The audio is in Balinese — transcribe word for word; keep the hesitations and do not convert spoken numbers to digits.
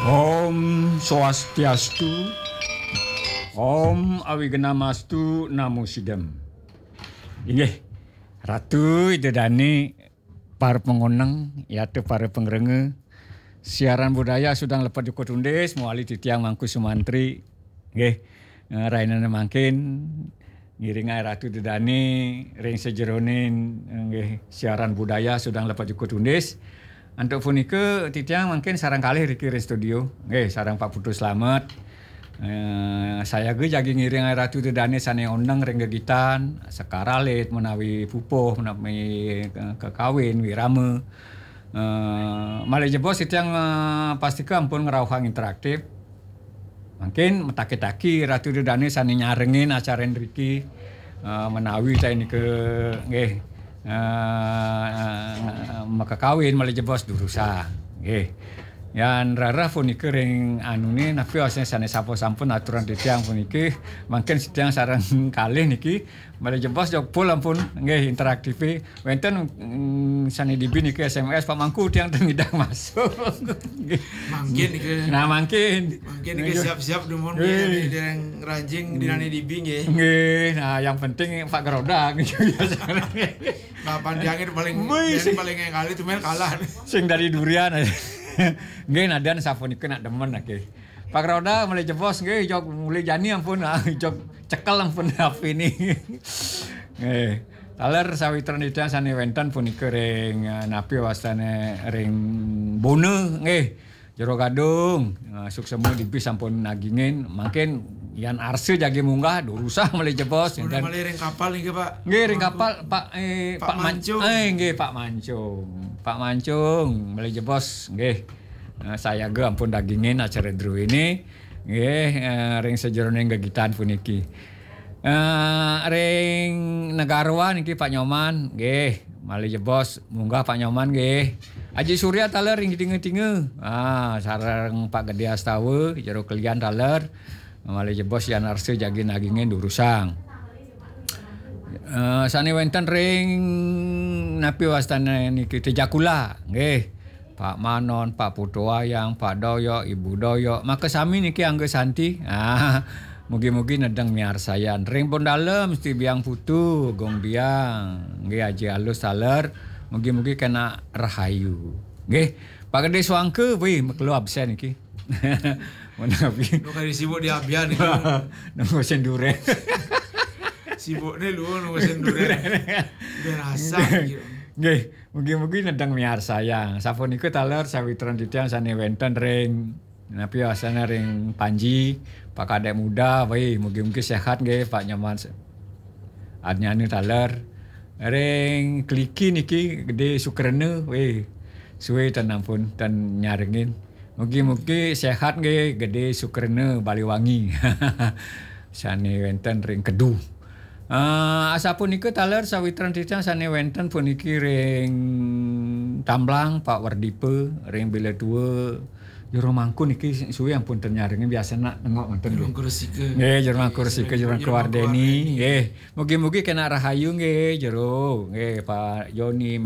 Om Swastiastu, Om Awignamastu Namo Sidam. Inggih, Ratu Ida Dane, para pangoneng, yata para pangrengga, siaran budaya Sudang Lepat Juku Tundis, mawali titiang Mangku Sumantri. Nggih, eh, rainane mangkin, ngiringai Ratu Ida Dane ring sajeroning, eh, nggih, siaran budaya Sudang Lepat Juku Tundis. Antuk punika, titiang mangkin sareng kalih riki ring studio. Nggih, sareng Pak Putu Slamet. Eh, sayaga jagi ngiring Ratu Ida Dane sane oneng ring gegitan, sekar alit menawi pupuh, menawi, eh, kekawin, wirama. Eh, malih jebos titiang, eh, pastika ampun ngrauhang interaktif. Mangkin mataki-taki Ratu Ida Dane sane nyarengin acara riki, eh, menawi ta nika, nggih, eh, makakawin malih jebos durusang. Nggih. Yan rereh punika ring anune, napi wasane sane sampun-sampun aturan titiang puniki, mangkin titiang sareng kalih niki, malih jebos jok pul ampun, nggih, interaktife. Wenten, mm, sane dibi niki S M S, "Pak Mangku, tiang ten ngidang masuk." Nggih. Mangkin niki. Nah, mangkin. Mangkin niki. Nggih. Siap-siap dumun. Nggih. Nggih, dereng ranjing dinane dibi, nggih. Nggih, nah, yang penting Pak Geroda, gitu, biasanya. Nah, pandiange paling, wih, yang sing paling ngali tumen kalah. Sing dari durian. Nggih, nadan sapunika nak demen, nggih. Pak Geroda malih jebos, nggih, jok mulih jani ampun, ah, jok cekel ampun H P ni. Nggih. Taler sawitran titiang sane wenten punika ring, eh, napi wastane ring Bona, nggih. Jero Gadung, eh, suksema dibi sampun nagingin, mangkin yan arsa jagi munggah, durusang malih jebos, Bona enten. Malih ring kapal niki, Pak. Nggih, ring kapal, Pak, eh, Pak Pak Man-, Mancung. Eh, nggih, Pak Mancung. Pak Mancung, malih jebos, nggih. Eh, sayaga ampun dagingin acara druene. Nggih, eh, ring sajeroning gegitan puniki. Eh, ring Negarawan niki Pak Nyoman, nggih, malih jebos munggah Pak Nyoman nggih. Aji Surya taler ring tinga-tinga. Ah, sareng Pak Gede Astawa, jero kelian taler. Malih jebos yan arsa jagi nagingin durusang. Eh, sane wenten ring napi wastane niki Tejakula, nggih. Pak Manon, Pak Putu Wayang, Pak Doyok, Ibu Doyok, makasami niki Angga Santi. Ah, mugi-mugi nedeng miarsayang. Ring pun dalem, Sti Biang Putu, Gong Biang, nggih, Aji Alus taler, mugi-mugi kena rahayu. Nggih, Pak Gede Suangke, wih, makelo absen niki. Menawi. Nu kari sibuk di abian niki. Nunggu senduren. Sibukne lu nunggu senduren. Udah rasa gitu. Nggih. Mugi-mugi nedeng miarsayang. Sapunika taler sawitran titiang sane wenten ring, napi wastane ring Panji, Pak Kadek Muda, wih, mugi-mugi sehat nggih, Pak Nyoman se-, Adnyana taler. Ring Kliki niki Gede Sukrena, wih, suwe ten ampun, ten nyarengin. Mugi-mugi sehat nggih, Gede Sukrena Baliwangi. Sane wenten ring Kedu. Ah, asapunika taler sawitran titiang sane wenten puniki ring Tamblang, Pak Werdipa, ring Bila Tua, Jero Mangku niki suwe ampun ten nyarengin, biasane nengok wenten. Jero nggih. Mangku Resika. Nggih, Jero Mangku Resika, Jero Mangku Wardeni. Nggih. Mugi-mugi kena rahayu nggih, Jero. Nggih, Pak Joni,